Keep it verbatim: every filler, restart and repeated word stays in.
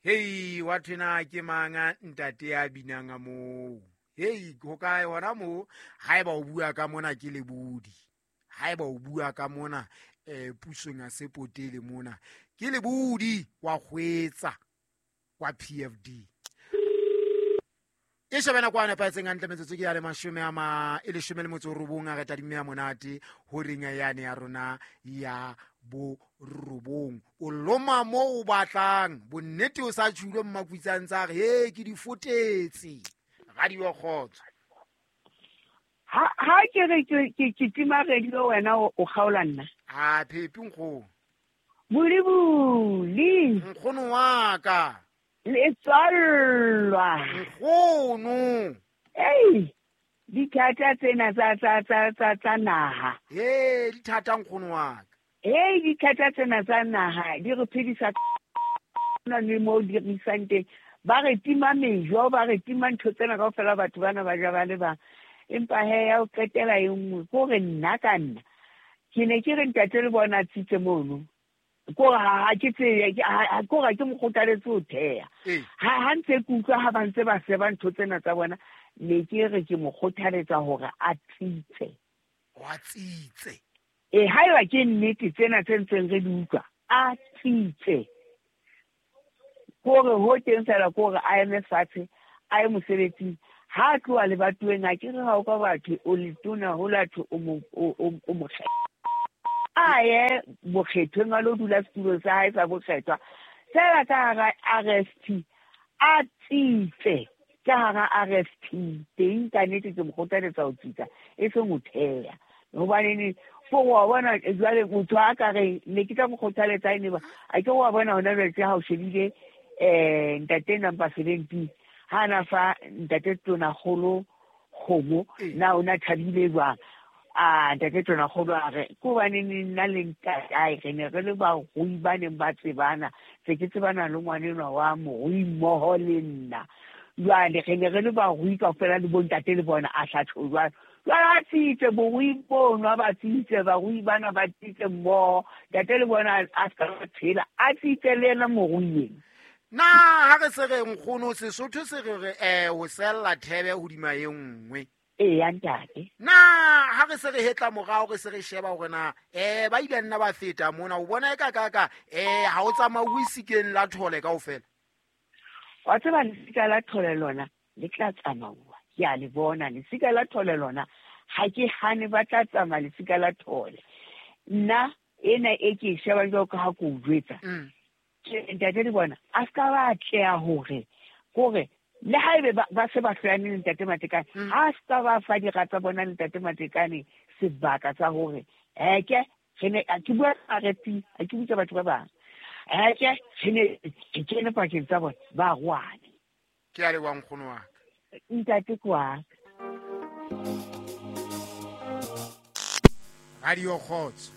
Hei, wa thwena ke mang ntate ya binang a moo? Hei, ho kae hona moo? Haeba o bua ka mona ke lebodi. Haeba o bua ka mona eh pusong ya sepotele mona ke lebodi wa kgwetsa wa P F D. E shebana kwa nepahetseng hantle metsotso ke ya le mashome a ma e leshome le motso o robong a re tadimme ya monate ho reng yane ya rona ya borobong. O loma mo o batlang bonnete o sa tjhulwe mmakwitsang tsa re he ke di fotetse radio kgotso. Ha ha ke re ke ke tima radio wena o kgaola nna. Ha phepi nkgono. Bulibuli. Nkgono wa ka. Le tswallwa. Nkgono. Ei, dithata tsena tsa tsa tsa tsa tsa naha. Eh, dithata nkgono wa ka. Ei, dithata tsena tsa naha di re phedisa na le mo di re isang teng. Ba re tima mejo, ba re tima ntho tsena kaofela batho bana ba ja ba le bang. Empa he ya o qetela e nngwe ko re nna ka nna. Ke ne ke re ntate le bona tsitse mono. Ko ha ha ke tse ha ko ga ke mo kgothaletse ho theha. Ha ha ntse ke utlwa ha ba ntse ba seba ntho tsena tsa bona, ne ke re ke mo kgothaletsa hore a tsitse. Wa tsitse. Eh, haeba ke nnete tsena tse ntseng re di utlwa, a tsitse. Kore ho teng fela kore a eme fatshe, a ye mosebetsing. Ha tloha lebatoweng a ke re ha o ka batho o letona ho latho o mo o mo a ye bokgethweng a lo dula setulong sa hae sa bokgethwa. Fela ka hara R S P a tsitse, ka hara R S P teng ka nnete ke mo kgothaletsa ho tsitsa e seng ho theha. Hobane fo wa bona jwale motho a ka re ne ke tla mo kgothaletsa ene ba a ke wa bona hona jwale ha o shebile eh ntate number seventeen ha na fa ntate tona kgolo kgomo na ona thabile jwang. A ntate tona kgolo a re ko bane nna le ntatae re ne re le barui ba neng ba tsebana tse ke tsebana le ngwanenwa wa morui mmoho le nna. Jwale re ne re le barui kaofela le bontate le bona a hlatho jwalo. Jwale a tsitse borui bono a ba tsitse barui bana ba tsitse mmoho ntate le bona a ska ba tshela a tsitse le yena morui ena. Na ha re se re nkgono Sesotho se re re eh ho sella thebe hodima e nngwe. Ee ya ntate. Na ha re se re hetla morao re se re sheba hore na eh ba ile nna ba feta mona o bona e ka ka ka eh ha o tsamauwe sikeng la thole kaofela. Wa tseba lesika la thole lona le tla tsamauwa. Ke a le bona lesika la thole lona ha ke hane ba tla tsamaya lesika la thole. Nna ena e ke e shebang jwalo ka ha ke o jwetsa. Ntate le bona a ska ba atleha hore kore le haebe ba se ba hloyane le ntate Matekane ha ska ba fa dira tsa bona le ntate Matekane sebaka sa hore eke re ne ke bua R F P a ke butsa batho ba bang eke re ne ke kene pakeng tsa bona ba rwane. Ke a leboha nkgono wa ka. Ntate kwa Radio Kgotso.